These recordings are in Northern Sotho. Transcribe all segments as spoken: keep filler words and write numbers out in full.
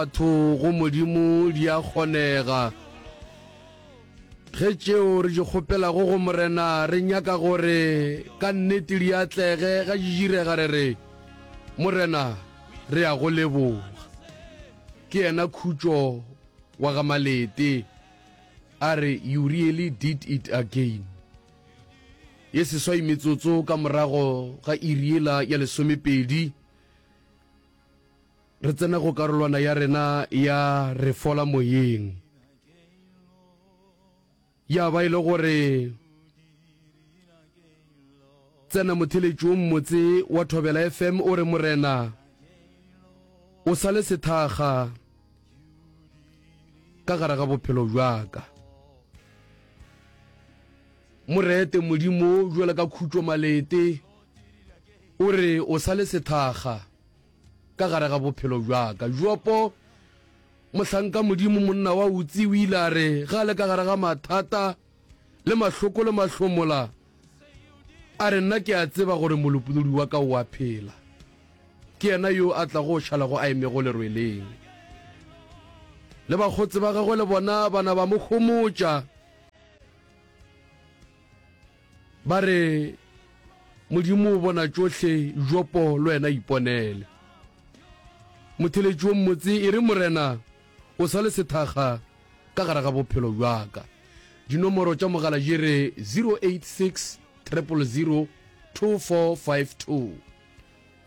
Batho go Modimo di a kgonega. Ge tšeo re di kgopelago go Morena re nyaka gore ka nnete di atlege, ga di direga re re, Morena, re a go leboga. Ke yena Khutšo wa ga Malete a re, You really did it again. Ye seswai metsotso ka morago ga iri yela ya lesomepedi, Re tsena go karolwana ya rena ya Re Fola Moyeng. Ya ba e le gore tsena motheletši wo mmotse wa Thobela F M o re Morena o sa le sethakga ka gare ga bophelo bja ka. Mo rete Modimo bjalo ka Khutšo Malete o re o sa le sethakga ka gare ga bophelo bja ka. Jopo, mohlanka Modimo, monna wa Utsi, o ile a re ge a le ka gare ga mathata le mahloko le mahlomola, a re, Nna ke a tseba gore Molopolodi wa ka o a phela. Ke yena yo a tlago šalago a emego lerweleng. Le bakgotse ba gagwe le bona ba na ba mo homotša. Ba re, Modimo o bona tšohle, Jopo le wena iponele. Motheletši wo mmotse e re, Morena, o sa le sethakga ka gare ga bophelo bja ka. Dinomoro tša mogala di re zero eight six triple zero two four five two,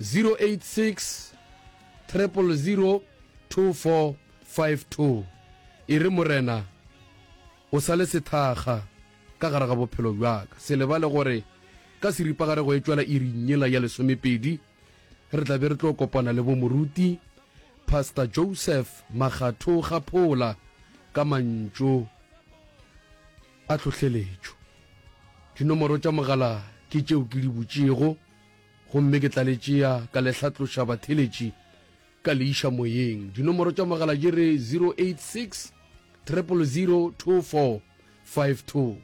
zero eight six triple zero two four five two. E re, Morena, o sa le sethakga ka gare ga bophelo bja ka. Se lebale gore ka seripagare go etšwela iring yela ya lesomepedi re tla be re tlo kopana le bo moruti Pastor Joseph Makgatho Kgaphola ka mantšu a tlhohleletšo. Dinomoro tša mogala ke tšeo ke di butšego gomme ke tla le tšea ka le hlatloša batheletši ka le iša moyeng. Dinomoro tša mogala di re zero eight six triple zero two four five two.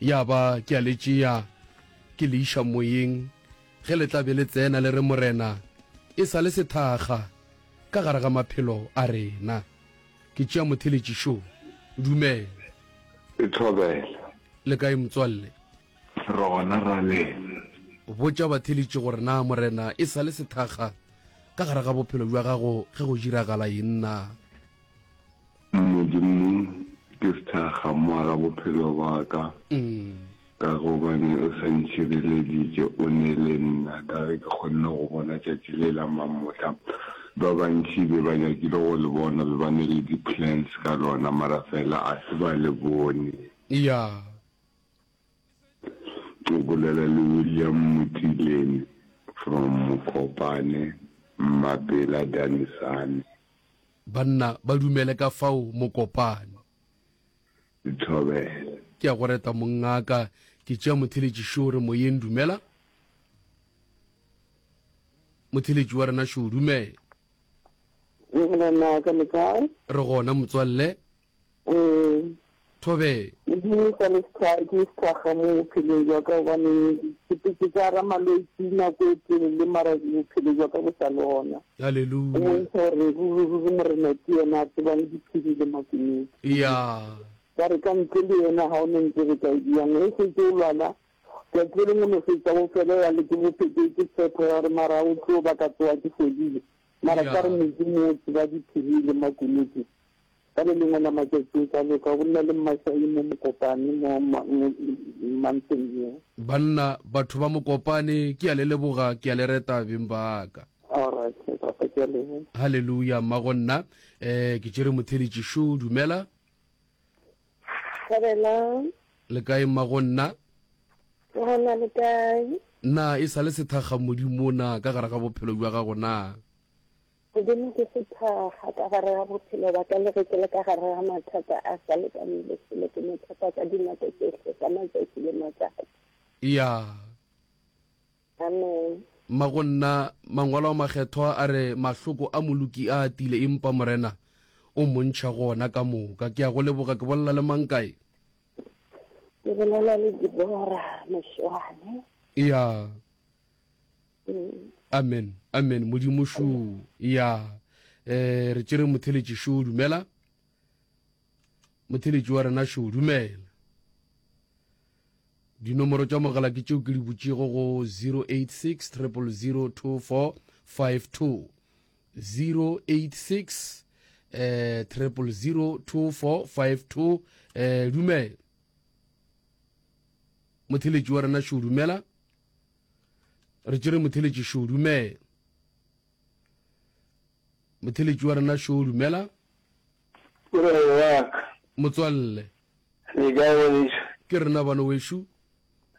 Ya ba ke a le tšea ke le iša moyeng ge le tla be le tsena le re Morena e sa le sethakga ka gare ga maphelo a rena. Ke tšea motheletši šo. Dumela. E thobela. Le kae motswalle? Re gona ra lena. Botša batheeletši gore na Morena e sa le sethakga ka gare ga bophelo bja gago ge go diragala eng na. Modimo ke sethakga mo ga bophelo bwa ka, ka gobane o sa ntšhireleditše, o ne le nna, ka ge ke kgonne go bona tšatši le la mamohla. Ba bantši be ba nyakile go le bona, be ba ne le di-plans ka lona, mara fela a se ba le bone. Ya. O bolela le William Motilene from Mokopane, Mmapela, Danisane. Banna ba dumele ka fao Mokopane. Dithobela. Ke a go reta mongaka. Ke tšea motheletši šo re moyeng dumela. Motheletši wa rena šo dumela. Morena ka le kae? Re gona motswalle. Ee. Thobela. Modimo sa le sethwa ke sethakga mo bophelong jwa ka gobane ke sepetse ka gara malwetši nako e telele mara bophelo jwa ka bo sa le gona. Go Hallelujah. bontšha gore ruri ruri Morena ke yena a tsebang diphiri le makunutu. Ya. Ka re ka ntle le yena ga o ne ntse re ka e diang. Ge setse o lwala tšatši le lengwe o no fetša o felela ke bophelo ke tshepo ya gore mara o tlo ba ka tsoga ke fodile. Mara ka re Ya. Modimo o tseba diphiri le makunutu. Ka le lengwe la matšatši o tla loka. O bolela le Mmašai mo Mokopane mo Mountain View. Banna, batho ba Mokopane, ke a le leboga, ke a le reta beng ba ka. Alright, papa, ke a leboga. Hallelujah, mmago nna. Eh, ke tšere motheeletši šo, dumela. Thabela. Le kae mmago nna? Ke gona, le kae? Na e sa le sethakga Modimo na ka gare ga bophelo bja gago na? Modimo ke sethakga ka gare ga bophelo ba ka, le ge ke le ka gare ga mathata a sa lekaneng selo, ke mo tshepa ka dinako tšohle, ka matšatši le matšatši. Ya. Amen. Mmago nna, Mangwalo a Makgethwa a re, Mahloko a moloki a atile, empa Morena o mo ntšha go ona ka moka. Ke a go leboga. Ke bolela le mang kae? Ke bolela le Deborah Mošwane. Ya. Amen, amen. Modimo šo. Ya. Eh re tšere motheletši šo dumela. Motheletši wa rena šo dumela. Dinomoro tša mogala ke tšeo ke di butšego go zero eight six triple zero two four five two zero eight six eh triple zero two four five two eh dumela. Motheletši wa rena šo dumela. Re tšere motheletši šo dumela. Motheletši wa rena šo dumela. Morena wa ka. Motswalle. Le kae ngwanešu? Ke rena bana wešo.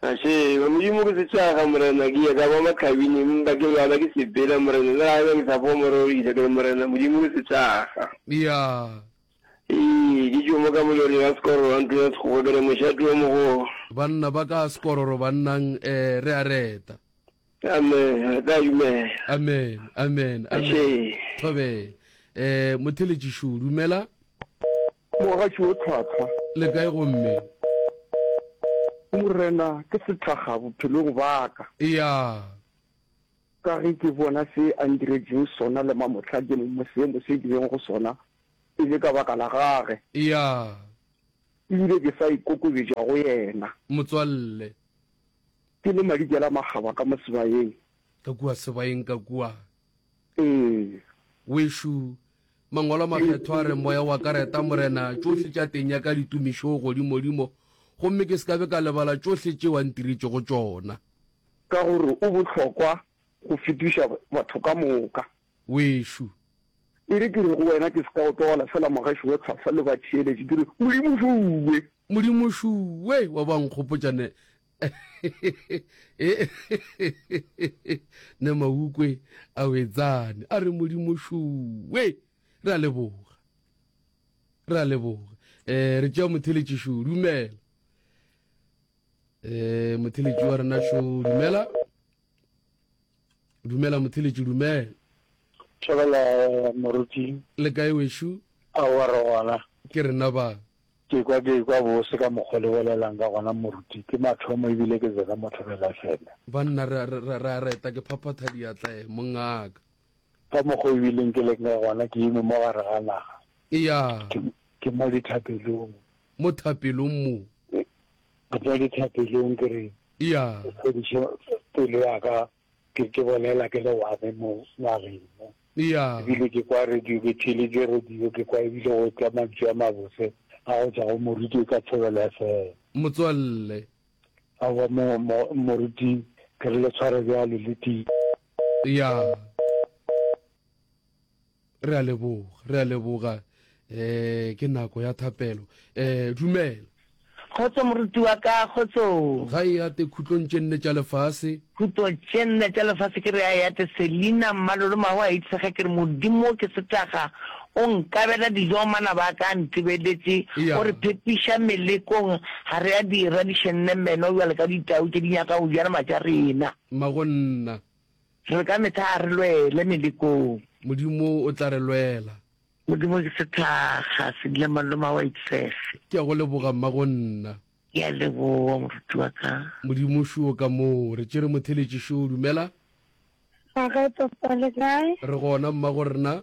Gašeba, Modimo ke setšaga, Morena, ke ya ka ba mahlabing, empa ke lwala ke sepela, Morena, le ga eba ke sa foa morero ke re, Morena, Modimo ke setšaga. Ya. Ee, ke tšo mo ka moloreng wa Sekororo wa ntlo ya Sekgowa, ke re mošate o mogolo. Banna ba ka Sekororo bannang, eh, re a reta. Amen, re tla dumela. Amen, amen, amen. Ašee. Thobela. Eh, motheletšišo, dumela. Mogatši wo tlhwatlhwa. Le kae gomme? Morena ke sethakga bophelong ba ka. Ya. Ka ge ke bona se a ntiretšeng sona le mamohla ke mo seemo se ke leng go sona e le ka baka la gage. Ya. Ebile ke sa ikokobetša go yena. Motswalle. Ke le madikela makgaba ka mo sebayeng. Ka kua sebayeng ka kua. Ee. Wešo, Mangwalo a Makgethwa a re, Moya wa ka reta Morena, tšohle tša teng ya ka ditumišo godimodimo, gomme ke se ka be ka lebala tšohle tšeo a ntiretšego tšona. Ka gore o bohlokwa go fetiša batho ka moka. Wešo. E re ke re go wena, ke se ka o tlogela fela mogaši wa tlhwahlwa le batheeletši, ke re, Modimo šuwe! Modimo šuwe! Wa ba nkgopotša ne ne maukwe a wetsane a re Modimo šuwe! Re a leboga, re a leboga. Eh, re tšea motheletši šo, dumela. Eh, motheletši wa rena šo, dumela. Dumela motheletši, dumela. Thobela moruti. Le kae wešo? Aowa re gona. Ke rena ba. Ke kwa ke kwa bose ka mokgwa le bolelang ka gona moruti. Ke mathomo ebile ke tsena mo Thobela F M. Banna re re re a reta ke phaphatha diatla eh mongaka. Ka mokgwa o ebileng ke leng ka gona ke eme mo gare ga naga. Eya. Ke ke mo dithapelong. Mo thapelong mo. Ke mo dithapelong ke re. Eya. O fodiše pelo ya ka ke ke bolela ke le one mo nageng mo. Eya. Ebile ke kwa radio ke theeletše radio ke kwa ebile go tla mantšu a mabose a go tšwa go moruti ka Thobela F M. Motswalle. Aowa mo, mo, moruti ke re le tshware bjalo le ti. Ya. Re a leboga, re a leboga. Eh ke nako ya thapelo. Eh dumela. Kgotso moruti wa ka, kgotso. Ga e ate khutlong tše nne tša lefase. Khutlo tše nne tša lefase ke re a e ate Selina Mmalolo Mahu a itshege ke re Modimo ke setaga o nkabela dijo manaba a ka a ntebeletše Eya. o re phepiša melekong ga re a dira di šenne meno bjalo ka ditau tše di nyaka go ja nama tša rena. Mmagonna. Re ka mehla a re lwele melekong. Modimo o tla re lwela. Modimo ke sethakga, Selina Mmalolo Mahu a itshege. Ke a go leboga mmagonna. Ke a leboga moruti wa ka. Modimo šo ka moo. Re tšere motheletši šo, dumela. Ga papa le kae? Re gona mmago rena.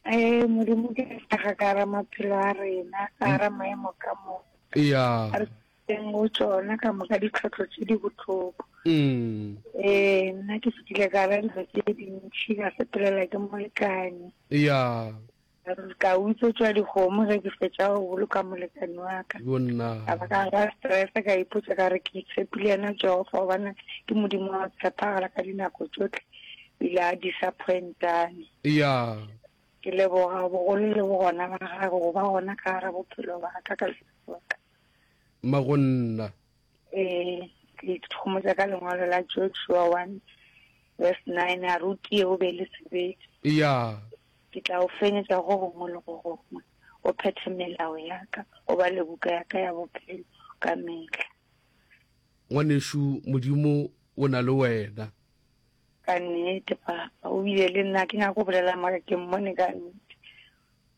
Ee, Modimo ke sethakga ka gara maphelo a rena, ka gara maemo ka moka. Eya. A re teng go tšona ka moka ditlhohlo tše di bohloko. Mm. Ee, nna ke fetile ka gara dilo tše dintši, ka sepelela ke molekane. Eya. Ka utswetšwa dikgomo ge ke fetša go boloka molekane wa ka. Yonna. Ka ba ka ba stress ka ipotša ka re ke tshepile yena Jehofa gobane ke Modimo wa go tshepagala ka dinako tšohle, o ile a disappointane. Eya. Ke leboga bogolo le bogona ba gagwe go ba gona ka gare bophelo ba ka ka lefase la ka. Mmagonna. Ee, ke ikhomotša ka lengwalo la Joshua one verse nine a re o tie o be le sebete. Eya. Ke tla o fenyetša go gongwe le go gongwe, o phethe melao ya ka, o bale buka ya ka ya bophelo ka mehla. Ngwanešu, Modimo o na le wena. Ka nnete, papa, o bile le nna, ke nyaka go bolela mara ke mmone ka nnete.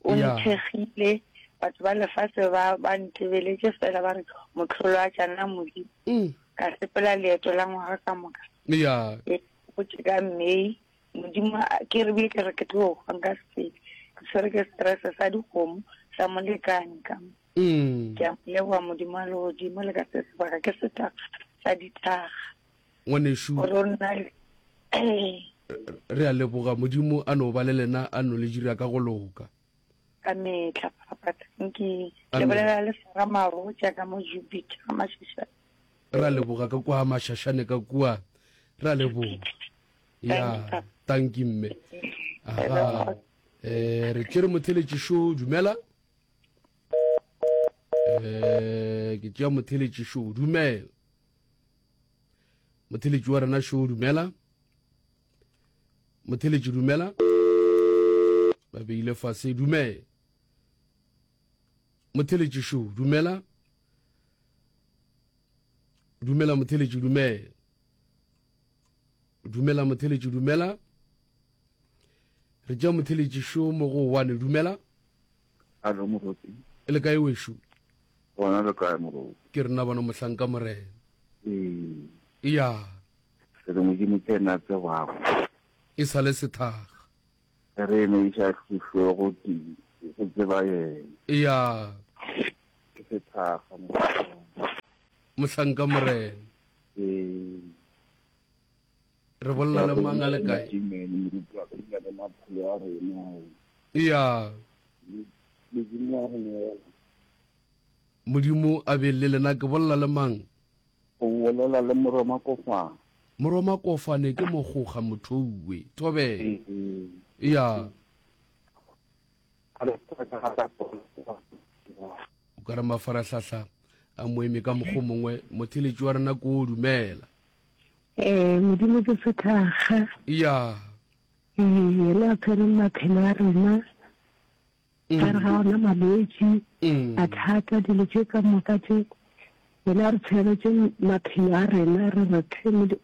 O Ya. nthekgile, batho ba lefase ba, ba ntebeletše fela ba re mohlolo a tšana Modimo. Mm. Ka sepela leeto la ngwaga ka moka. Ya. E, go tše ka May Modimo a ke re bile ke re ke tlo hwa nka se tsebe. Ke tshwere ke stress sa dikgomo sa molekane ka mo. Mm. Ke a mo leboga Modimo wa legodimo le ka se sebaka ke sethakga sa dithakga. Ngwanešu. Gore o nna le ee. Re a leboga Modimo a no ba le lena a no le dira ka go loka. Ka mehla papa thank you. Le Amen. bolela le Sarah Marotša ka mo Jupiter ga Mashashane. Re a leboga ka kua Mashashane ka kua. Re a leboga. Ya, thank you mme. Aha. Eh re tšere motheletši šo dumela. Eh ke tšea motheletši šo dumela. Motheletši wa rena šo dumela. Motheletši dumela. Ba beile fase dumela. Motheletši šo dumela. Dumela motheletši dumela. Dumela motheletši dumela. Re tšea motheletši šo mo go one dumela. Alo moruti. E le kae wešo? Gona le kae moruti? Ke rena bana mohlanka morena. Ee. Ya. Re re Modimo ke yena a tsebago. E sa le sethakga. Re eme iša hluhlwe go ti go tseba yena. Ya. Ke sethakga mohlanka. Mohlanka morena. Ee. Re bolela le mang a le kae? Amen, moruti wa ka dula le maphelo a rena. Ya. Modimo a re neela. Modimo a be le lena ke bolela le mang? O bolela le Moroma Kofane. Moroma Kofane ke mogoga mothouwe. Thobela. Ya. O ka re mafarahlahla a moeme ka mokgo mongwe motheletši wa rena ko dumela. Ee, Modimo ke sethakga. Ya. Ee, yena a tshwereng maphelo a rena. Ka re ga ona malwetši, mathata, dilo tše ka moka tše. Yena a re tshweretše maphelo a rena, re re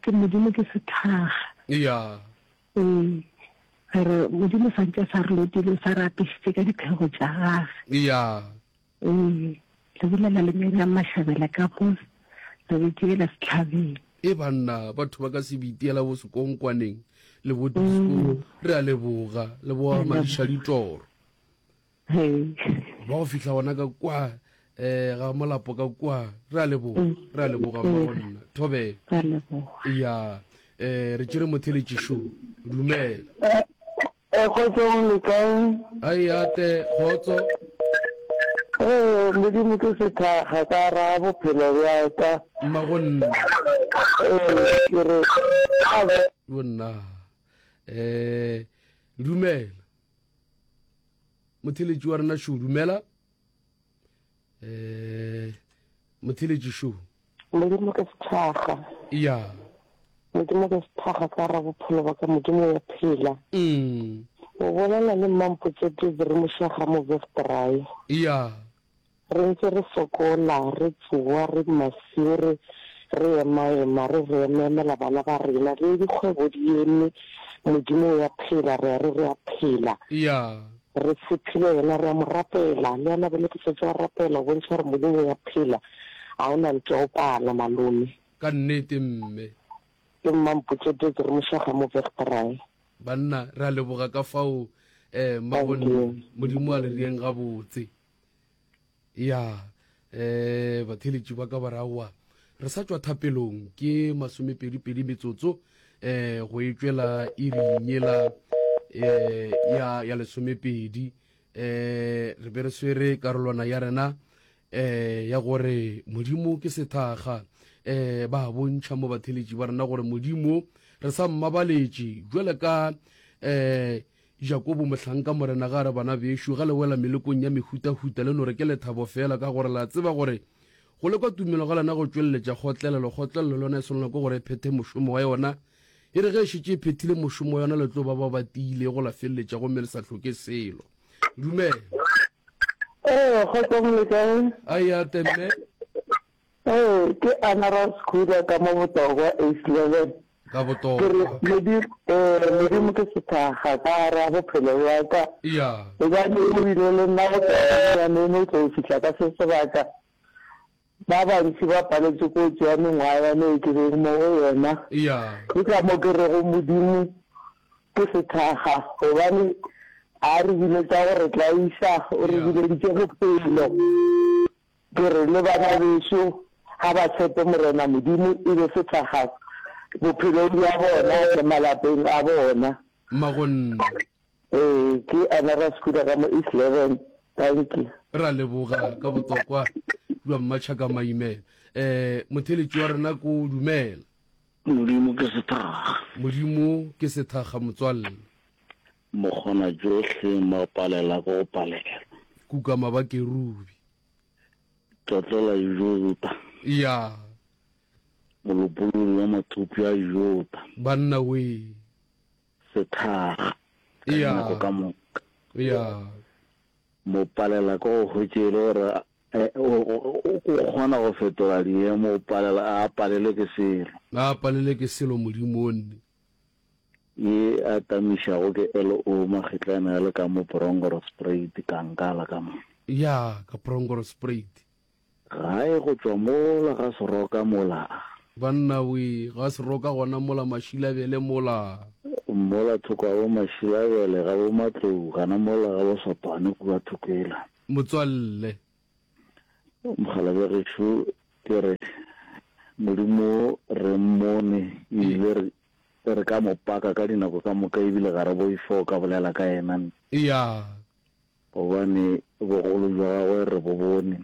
ke Modimo ke sethakga. Ya. Ee, re re Modimo santše a sa re lotile, o sa re apešitše ka diphego tša gage. Ya. Ee, le bolela le Miriam Mashabela ka mo re bitiela sehlabeng. E banna, batho ba ka se bitiela bo sekonkwaneng le bo disco. Re a leboga, le bo madiša ditoro. Ba go fihla gona ka kwa eh ga molapo ka kwa. Re a leboga, re a leboga mma go nna. Thobela. Re a leboga. Ya, eh re tšere motheletši šo. Dumela. Eh, kgotsong le kae? Ai ate, kgotso. Ee, Modimo ke sethakga ka ra bophelo bja ka. Mma go nna. Ee, ke re Bo nna. Eh, dumela. Motheletši wa rena šo, dumela. Eh, motheletši šo. Modimo ke sethakga. Ya. Modimo ke sethakga ka ra bophelo ba ka, Modimo wa phela. Mm. O bolela le Mmampotse Desiree Mošaga mo Vesterae. Ya. Re ntse re sokola, re tsoa, re masiu, re, re emaema, re re emaemela bana ba rena, le dikgwebo di eme, Modimo o a phela, re a re re a phela. Ya. Re tshepile yena, re a mo rapela, le yena bjale ke šetše a rapela, o bontšha gore Modimo o a phela, ga o na ntwa o pala, malome. Ka nnete, mme. Ke Mmampotse Desiree Mošaga mo Vesterae. Banna, re a leboga ka fao, eh, mmagonne, Modimo a le rieng gabotse. Ya, eh, batheletši ba ka ba re aowa, re sa tšwa thapelong, ke masomepedi-pedi metsotso, eh, go e tšwela iring yela, eh, ya, ya lesomepedi. Eh, re be re swere karolwana ya rena, eh, ya gore Modimo ke sethakga. Eh, ba bontšha mo batheletši ba rena gore Modimo re sa mmabaletše jwale ka, eh, Jakobo mohlanka morena ga re bana bešo ga le wela melekong ya mehutahuta le no re ke lethabo fela ka gore la tseba gore go lekwa tumelo ga lena go tšweleletša kgotlelelo kgotlelelo le yona e swanelwa ke gore e phethe mošomo wa yona e re ge e šetše e phethile mošomo wa yona le tlo ba ba ba tiilego la feleletša gomme le sa hloke selo. Dumela. Ee, kgotsong le kae? Ai ate mme. Ee, ke Anna Raskuda ka mo Botokwa, East Levin. Ka Botokwa. Ke re, Modimo, ee, Modimo ke sethakga ka gare ga bophelo bja ka. Ya. Gobane o bile le nna go tloga bonnyaneng go tlo fihla ka se sebaka. Ba bantši ba paletše ke go tšea mengwaga ya me e ke bego mo go yona. Ya. Ke ka mo ke rego Modimo Ke sethakga gobane a re biletša go re tlaiša, o re bileditše bophelo. Ke re le bana bešo ga ba tshepe Morena Modimo e be sethakga bophelong bja bona le malapeng a bona. Mmagonna. Ee, ke Anna Raskuda ka mo East Leven. Dankie. Re a leboga ka botokwa bja Mmatšhaka Maimela. Eh, motheletši wa rena ko dumela. Modimo ke sethakga. Modimo ke sethakga motswalle. Mokgona tšohle mapalela ke go palelwa. Kukama ba kerubi. Tlotlo la Juda. Ya. Molopolodi wa mathopša a Juda. Banna wee. Sethakga. Ka Ya. dinako ka moka. Ya. Mopalela ke go hwetše e le gore o kgona go fetola diemo, o palela, a palelwe ke selo. A palelwe ke selo Modimo o nne. Ye a tamišago ke LO Magetlane a le ka mo Bronkhorstspruit, Kankala ka mo. Ya, ka Bronkhorstspruit. Gae go tšwa mola ga Seroka mola. Banna wee, ga Seroka gona mola Mašilabele mola. Mola thoko ga bo Mašilabele, ga bo Matlou, gana mola ga bo Sotwane kua thoko yela. Motswalle. Mokgalabje gešo, ke re, Modimo re mmone, ebile re, re ka mo paka ka dinako ka moka, ebile ga re boife go ka bolela ka yena. Ya. Gobane bogolo bja gagwe re bo bone,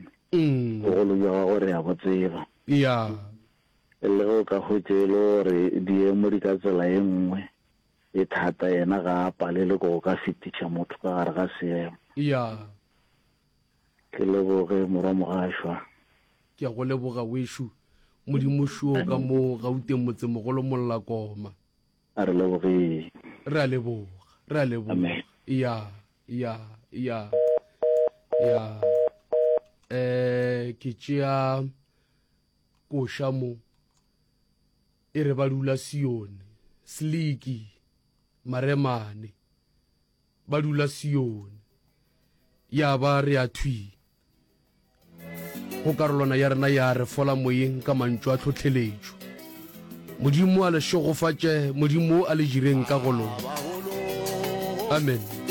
bogolo bja gagwe re a bo tseba. Ya. Le ge o ka hwetša e le gore diemo di ka tsela ye nngwe e thata, yena ga a palelwe ke go ka fetiša motho ka gare ga seemo. Ya. Ke leboge morwa Mogašwa. Ke a go leboga wešo. Modimo šoo ka mo Gauteng motsemogolo Mollakoma. A re lebogeng. Re a leboga. Re a leboga. Amen. Ya, ya, ya, ya. Eh, ke tšea koša mo. E re ba dula Sione, Sliki, Maremane. Ba dula Sione. Ya ba re a thwi go karolwana ya rena ya re fola moyeng ka mantšu a tlhohleletšo. Modimo a le šegofatše, Modimo a le jireng ka go loka. Amen.